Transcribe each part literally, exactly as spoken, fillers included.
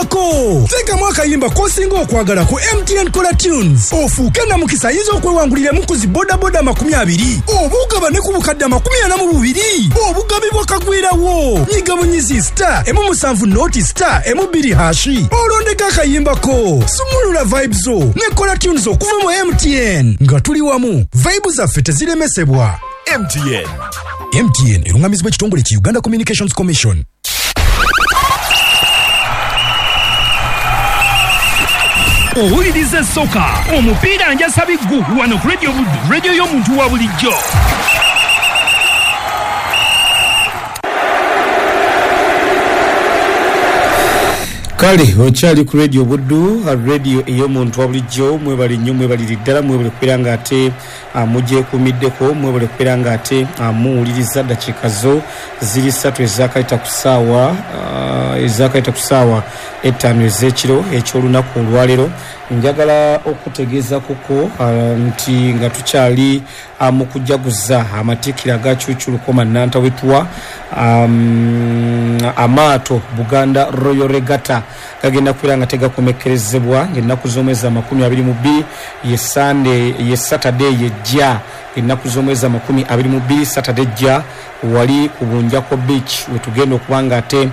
Gezaako teekamu akayimba k'osinga okwagala ku M T N Kola Tunes ofuuke namukisa ayinza okwewanguliramu ku zi bodaboda amakumi abiri oba ogabane ku bukadde amakumi ana mu bubiri obugabi bwakagwirawo. Nyiga bunyizi star emu musanvu noti star emu bbiri hashi olondeko akayimbako. Sumulula vibes zo ne Kola Tunes okuva mu M T N nga tuli wamu, vibe zaffe teziremesebwa. M T N. M T N erungamizibwa ekitongole ki Uganda Communications Commission. Owuliriza soka omupiira njasa biggu wano ku Radio Buddu, radio y'omuntu wa bulijjo. Kale okyali ku Radio Buddu, radio ey'omuntu wa bulijjo. Mwebale nnyo, mwebalire ddala, mwebale kubeera nga ate mugyekuumiddeko, mwebale kubeera nga ate muwuliriza. Ddakiika zo ziri ssatu ezaakayita ku ssaawa ezaakayita ku ssaawa ettaano ez'ekiro eky'olunaku olwaleero. Njagala okutegeeza kuko nti nga tukyali mu kujaguza amatikkira aga Cucculukoma Nantawetwa, um, amaato Buganda Royal Regatta gagenda kubeera nga tegakomekkerezebwa ng'ennaku z'omwezi amakumi abiri mu bbiri ye Sunday, ye Saturday yejja ennaku z'omwezi amakumi abiri mu bbiri Saturday ejja wali ku Bunjako Beach wetugenda okuba nga ate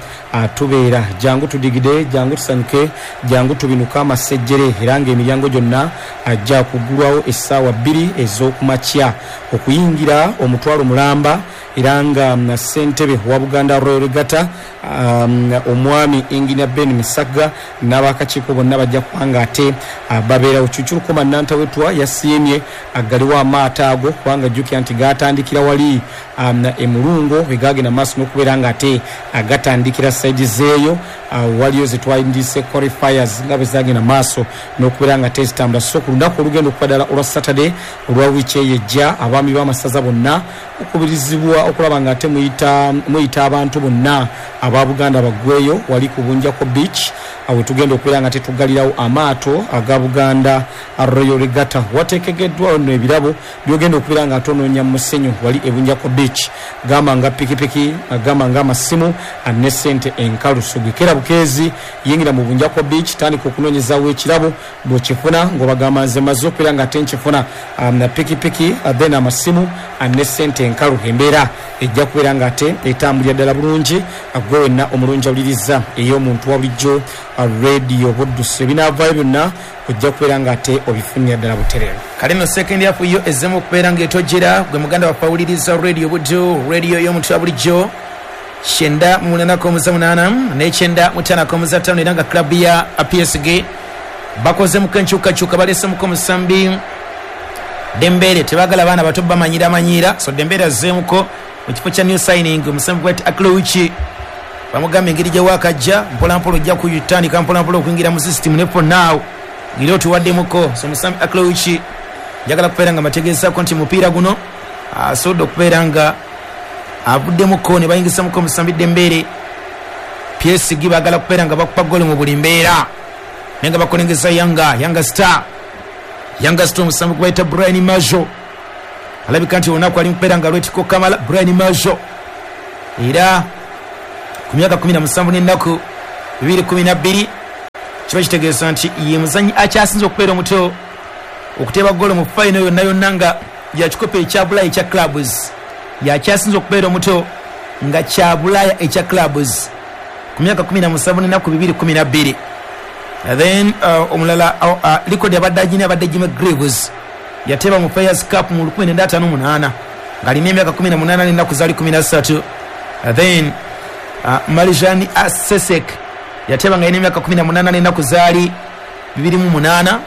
tubeera. Jangu tudigide, jangu tusanyuke, jangu tubinuke amasejjere, era ng'emiryango gyonna ajja kuggulwawo essaawa bbiri ez'okumakya okuyingira omutwalo mulamba, era nga ssentebe wa Buganda Royal Regatta um, omwami Engineer Ben Misaga n'abakakiiko bonna bajja kuba nga ate babeerawo. Cucculukoma Nantawetwa yasiimye aggaliwo amaato ago kubanga jjukira nti gaatandikira wali um, emulungo wegagenda maaso n'okubeera nga ate agatandikira saidi zeeyo uh, waliyo zetwayindise qualifiers nga bwe zagenda maaso n'okubeera nga ate zitambula. So ku lunaku olugenda okuba ddala olwa Saturday olwa wiiki eyo ejja, abaami b'amasaza bonna okubirizibwa okulaba nga ate muyita muyita abantu bonna aba Buganda baggweyo wali ku Bunjako Beach awe tugenda okubeera nga tetugalirawo amaato aga Buganda Royal Regatta. Wateekegeddwawo nno ebirabo byogenda okubeera nga atonoonya mu musenyu wali e Bunjako Beach, gamba nga pikipiki, gamba nga amasimu ne ssente enkalu. So gwekera bukeezi yingira mu Bunjako Beach, tandika okunoonyezaawo ekirabo bw'okifuna ng'obagamba nze maze okubeera nga ate nkifuna na pikipiki then amasimu ne ssente enkalu. Embeera ejja kubeera nga ate etambulira ddala bulungi. Gwe wenna omulungi awuliriza ey'omuntu wa bulijjo Radio Buddu, ebinaavaayo byonna ojja kubeera nga ate obifunira ddala butereevu. Kale nno second half yo ezzemu okubeera ng'etojjera. Gwe muganda waffe awuliriza Radio Buddu, radio y'omuntu wa bulijjo, kyenda mu munaana komuza munaana n'ekyenda mu ttaano komuza ttaano, era nga club ya P S G bakozemuko enkyukakyuka, baleesemuko omusambi Dembele. Tebaagala baana bato bamanyira manyira, so Dembele azzeemuko mu kifo kya new signing omusambi gwet Aklouchi. Bamugamba engeri gye waakajja mpolampola ojja kutandika mpolampola okuyingira mu system ne for now ngeri otuwaddemuko. So omusambi Aklouchi njagala kubeera nga mategeezaako nti mupiira guno asobodde okubeera nga avuddemuko ne bayingisamuko omusambi Dembele. P S G baagala kubeera nga bakupa ggoolo mu buli mbeera, naye nga bakolengeza Yanga Yanga Star Yanga Star omusambi gwe bayita Brian Majo alabika nti olunaku ali mukubeera nga lwetiko Kamala. Brian Majo era ku myaka kumi na musanvu n'ennaku bibiri kumi na bbiri kiba kitegeeza nti ye muzannyi akyasinze okubeera omuto okuteeba ggoolo mu fayino yonna yonna nga ya kikopo ekya Bulaaya ekya clubs. Yakyasinze okubeera omuto nga kya Bulaaya ekya clubs ku myaka kumi na musanvu n'ennaku bibiri kumi na bbiri. Then uh, omulala uh, uh, likodi abadde agina abadde Jimmy Greaves yateeba mu Players Cup mu lukumi nenda ataano munaana ng'alina emyaka kumi na munaana n'ennaku zaali kumi na ssatu. Then uh, Marijani Asesek yateeba nga alina emyaka kumi na munaana n'ennaku zaali bibiri mu munaana.